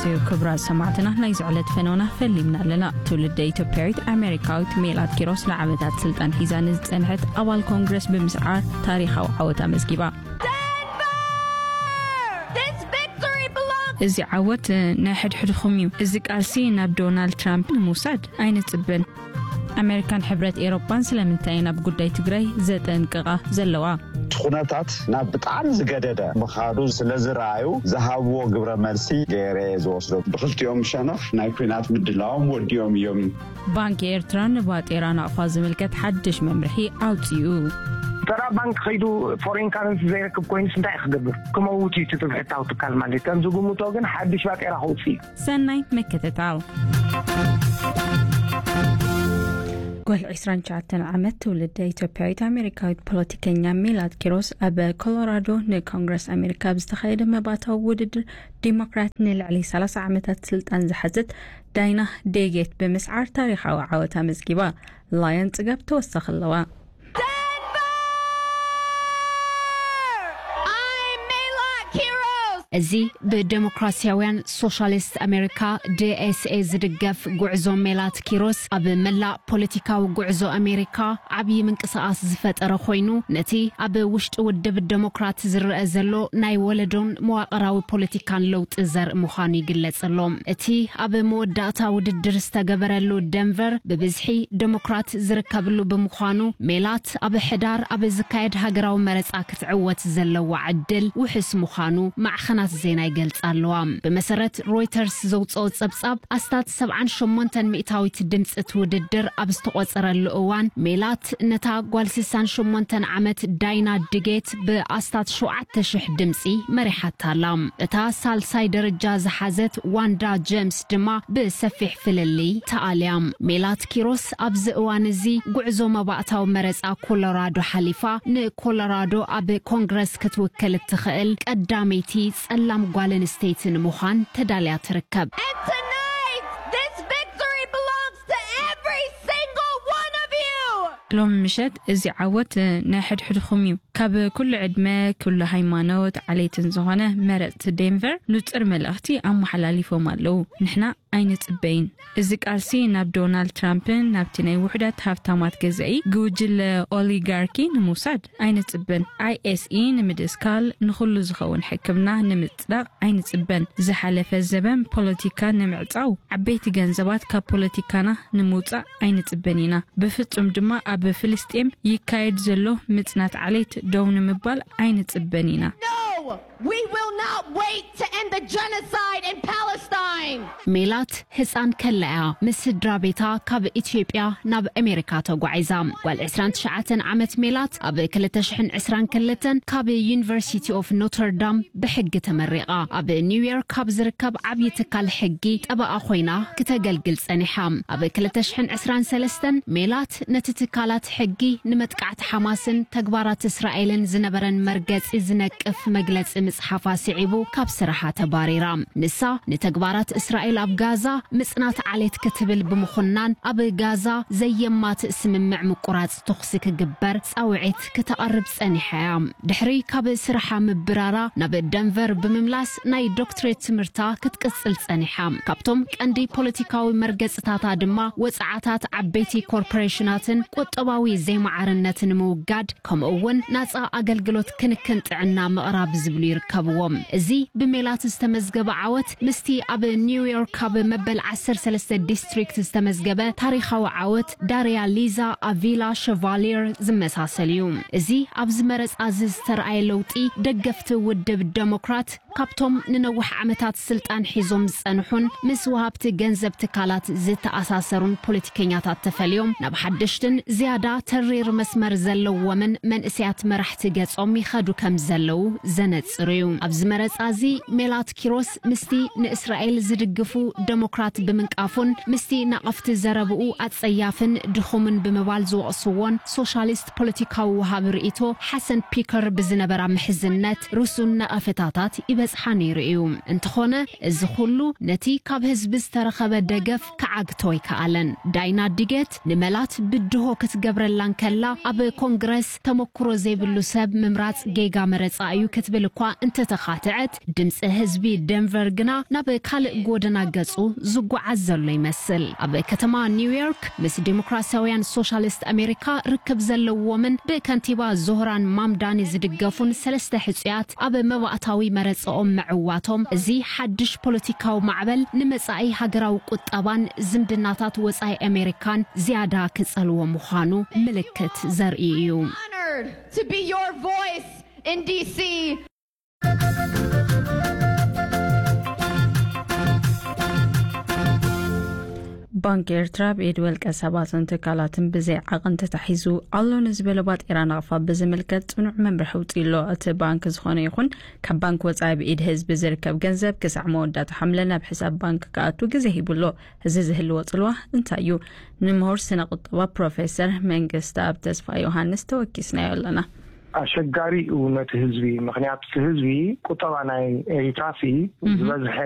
ሰዩ ክብራት ሰማዕትና፣ ናይ ዝዕለት ፈነውና ፈሊምና ኣለና። ትውልደ ኢትዮጵያዊት ኣሜሪካዊት ሜላት ኪሮስ ንዓመታት ስልጣን ሒዛ ንዝጸንሐት ኣባል ኮንግረስ ብምስዓር ታሪኻዊ ዓወት ኣመዝጊባ። This victory belongs እዚ ዓወት ናይ ሕድሕድኹም እዩ። እዚ ቃልሲ ናብ ዶናልድ ትራምፕ ንምውሳድ ኣይንጽበን። ኣሜሪካን ሕብረት ኤሮጳን ስለምንታይ ናብ ጉዳይ ትግራይ ዘጠንቅቓ ዘለዋ? እቲ ኩነታት ናብ ብጣዕሚ ዝገደደ ምኻዱ ስለ ዝረኣዩ ዝሃብዎ ግብረ መልሲ ገይረ ዝወስዶ። ብክልቲኦም ሸነኽ ናይ ኩናት ምድላዎም ወዲኦም እዮም። ባንኪ ኤርትራ ንባጤራ ናቕፋ ዝምልከት ሓድሽ መምርሒ ኣውጺኡ። ተራ ባንክ ከይዱ ፎሬን ካረንሲ ዘይረክብ ኮይኑስ እንታይ ክገብር? ክመውት እዩ እቲ ትብሕታዊ ትካል ማለት ከም ዝግምቶ ግን ሓድሽ ባጤራ ከውፅእ እዩ። ሰናይ ምክትታል። ጓል ዕስራን ትሽዓተን ዓመት ትውልደ ኢትዮጵያዊት ኣሜሪካዊት ፖለቲከኛ ሜላት ኪሮስ ኣብ ኮሎራዶ ንኮንግረስ ኣሜሪካ ኣብ ዝተኻየደ መባታዊ ውድድር ዲሞክራት ንልዕሊ ሰላሳ ዓመታት ስልጣን ዝሓዘት ዳይና ዴጌት ብምስዓር ታሪኻዊ ዓወት ኣመዝጊባ። ላዮን ጽጋብ ተወሳኺ ኣለዋ። እዚ ብደሞክራሲያውያን ሶሻሊስት ኣሜሪካ፣ ዲ ኤስ ኤ፣ ዝድገፍ ጉዕዞ ሜላት ኪሮስ ኣብ መላእ ፖለቲካዊ ጉዕዞ ኣሜሪካ ዓብዪ ምንቅስቓስ ዝፈጠረ ኮይኑ፣ ነቲ ኣብ ውሽጢ ውድብ ደሞክራት ዝረአ ዘሎ ናይ ወለዶን መዋቕራዊ ፖለቲካን ለውጢ ዘርኢ ምዃኑ ይግለጽ ኣሎ። እቲ ኣብ መወዳእታ ውድድር ዝተገበረሉ ደንቨር ብብዝሒ ደሞክራት ዝርከብሉ ብምዃኑ፣ ሜላት ኣብ ሕዳር ኣብ ዝካየድ ሃገራዊ መረጻ ክትዕወት ዘለዋ ዕድል ውሑስ ምዃኑ ማዕኸናት ዜና ይገልጻ ኣለዋ። ብመሰረት ሮይተርስ ዘውጽኦ ጸብጻብ፣ ኣስታት ሰብዓን ሸሞንተን ሚእታዊት ድምጺ እቲ ውድድር ኣብ ዝተቖጸረሉ እዋን፣ ሜላት ነታ ጓል ስሳን ሸሞንተን ዓመት ዳይና ድጌት ብኣስታት ሸውዓተ ሽሕ ድምጺ መሪሓታ ኣላ። እታ ሳልሳይ ደረጃ ዝሓዘት ዋንዳ ጀምስ ድማ ብሰፊሕ ፍልልይ ተኣልያ። ሜላት ኪሮስ ኣብዚ እዋን እዚ ጉዕዞ መባእታዊ መረጻ ኮሎራዶ ሓሊፋ፣ ንኮሎራዶ ኣብ ኮንግረስ ክትውክል እትኽእል ቀዳመይቲ ጸላም ጓል ኣንስተይቲ ንምዃን ተዳልያ ትርከብ። And tonight, this victory belongs to every single one of you. ሎሚ ምሸት እዚ ዓወት ናይ ሕድሕድኹም እዩ። ካብ ኩሉ ዕድመ፣ ኩሉ ሃይማኖት፣ ዓሌትን ዝኾነ መረጽቲ ዴንቨር ንጹር መልእኽቲ ኣመሓላሊፎም ኣለዉ። ንሕና ኣይንጽበይን። እዚ ቃልሲ ናብ ዶናልድ ትራምፕን ናብቲ ናይ ውሑዳት ሃብታማት ገዛኢ ጉጅለ ኦሊጋርኪ ንምውሳድ ኣይንጽበን። ኣይ ኤስ ኢ ንምድስካል፣ ንኹሉ ዝኸውን ሕክምና ንምጽዳቕ ኣይንጽበን። ዝሓለፈ ዘበን ፖለቲካ ንምዕጻው፣ ዓበይቲ ገንዘባት ካብ ፖለቲካና ንምውጻእ ኣይንጽበን ኢና። ብፍጹም ድማ ኣብ ፍልስጤም ይካየድ ዘሎ ምጽናት ዓሌት ደው ንምባል ኣይንጽበን ኢና። No! We will not wait to end the genocide in Palestine. ሜላት ህፃን ከላ እያ ምስ ስድራ ቤታ ካብ ኢትዮጵያ ናብ ኣሜሪካ ተጓዒዛ። ጓል ዕስራን ትሽዓተን ዓመት ሜላት ኣብ ክልተ ሽሕን ዕስራን ክልተን ካብ ዩኒቨርሲቲ ኦፍ ኖተርዳም ብሕጊ ተመሪቓ። ኣብ ኒውዮርክ ካብ ዝርከብ ዓብዪ ትካል ሕጊ ጠበቓ ኮይና ክተገልግል ጸኒሓ። ኣብ ክልተ ሽሕን ዕስራን ሰለስተን ሜላት ነቲ ትካላት ሕጊ ንመጥቃዕቲ ሓማስን ተግባራት እስራኤልን ዝነበረን መርገጺ ዝነቅፍ መግለጺ ምጽሓፋ ስዒቡ ካብ ስራሓ ተባሪራ። ንሳ ንተግባራት እስራኤል ኣብ ጋዛ ምጽናት ዓሌት ክትብል ብምኹናን ኣብ ጋዛ ዘየማትእ ስምምዕ ምቁራጽ ተኹሲ ክግበር ጻውዒት ክተቐርብ ጸኒሓ እያ። ድሕሪ ካብ ስራሓ ምብራራ ናብ ደንቨር ብምምላስ ናይ ዶክትሬት ትምህርታ ክትቅጽል ጸኒሓ። ካብቶም ቀንዲ ፖለቲካዊ መርገጽታታ ድማ ወጽዓታት ዓበይቲ ኮርፖሬሽናትን ቁጠባዊ ዘይማዕርነትን ምውጋድ፣ ከምኡ እውን ናጻ ኣገልግሎት ክንክን ጥዕና ምቕራብ ዝብሉ ይርከብዎም። እዚ ብሜላት ዝተመዝገበ ዓወት ምስቲ ኣብ ኒውዮርክ ኣብ መበል ዓሰርተ ሰለስተ ዲስትሪክት ዝተመዝገበ ታሪኻዊ ዓወት ዳርያ ሊዛ ኣቪላ ሸቫሊር ዝመሳሰል እዩ። እዚ ኣብዚ መረጻ እዚ ዝተረኣየ ለውጢ፣ ደገፍቲ ውድብ ደሞክራት ካብቶም ንነዊሕ ዓመታት ስልጣን ሒዞም ዝጸንሑን ምስ ወሃብቲ ገንዘብ ትካላት ዝተኣሳሰሩን ፖለቲከኛታት ተፈልዮም ናብ ሓደሽትን ዝያዳ ተሪር መስመር ዘለዎምን መንእሰያት መራሕቲ ገጾም ይኸዱ ከም ዘለዉ ዘነጽሩ እዩ። ኣብዚ መረጻ እዚ ሜላት ኪሮስ ምስቲ ንእስራኤል ድግፉ ደሞክራት ብምንቃፉን ምስቲ ናቐፍቲ ዘረብኡ ኣጸያፍን ድኹምን ብምባል ዝወቕስዎን ሶሻሊስት ፖለቲካዊ ወሃቢ ርእይቶ ሓሰን ፒከር ብዝነበራ ምሕዝነት ርሱን ነቐፌታታት ይበጽሓ ነይሩ እዩ። እንተኾነ፣ እዚ ኩሉ ነቲ ካብ ህዝቢ ዝተረኸበ ደገፍ ክዓግቶ ኣይከኣለን። ዳይና ዲገት ንመላት ብድሆ ክትገብረላ እንከላ፣ ኣብ ኮንግረስ ተመኩሮ ዘይብሉ ሰብ ምምራጽ ጌጋ መረጻ እዩ ክትብል እኳ እንተተኻትዐት፣ ድምጺ ህዝቢ ደንቨር ግና ናብ ካልእ ጎደና ገጹ ዝጓዓዝ ዘሎ ይመስል። ኣብ ከተማ ኒውዮርክ ምስ ዲሞክራሲያውያን ሶሻሊስት ኣሜሪካ ርክብ ዘለዎምን ብከንቲባ ዞህራን ማምዳኒ ዝድገፉን ሰለስተ ሕጹያት ኣብ መባእታዊ መረጻኦም ምዕዋቶም፣ እዚ ሓድሽ ፖለቲካዊ ማዕበል ንመጻኢ ሃገራዊ ቁጠባን ዝምድናታት ወጻኢ ኣሜሪካን ዝያዳ ክጸልዎ ምዃኑ ምልክት ዘርኢ እዩ። Honored to be your voice in D C. ባንክ ኤርትራ ብኢድ ውልቀ ሰባትን ትካላትን ብዘይ ዓቐን ተታሒዙ ኣሎ ንዝበሎ ባጤራ ናቕፋ ብዝምልከት ጽኑዕ መምርሒ ኣውጺኡ ኣሎ። እቲ ባንክ ዝኾነ ይኹን ካብ ባንክ ወጻኢ ብኢድ ህዝቢ ዝርከብ ገንዘብ ክሳዕ መወዳእታ ሓምለ ናብ ሕሳብ ባንክ ክኣቱ ግዜ ሂቡ ኣሎ። እዚ ዝህልዎ ጽልዋ እንታይ እዩ? ንምሁር ስነ ቁጠባ ፕሮፌሰር መንግስተኣብ ተስፋ ዮሃንስ ተወኪስናዮ ኣለና። ኣሸጋሪ እዩ ነቲ ህዝቢ። ምኽንያቱ እቲ ህዝቢ ቁጠባ ናይ ኤሪትራሲ ዝበዝሐ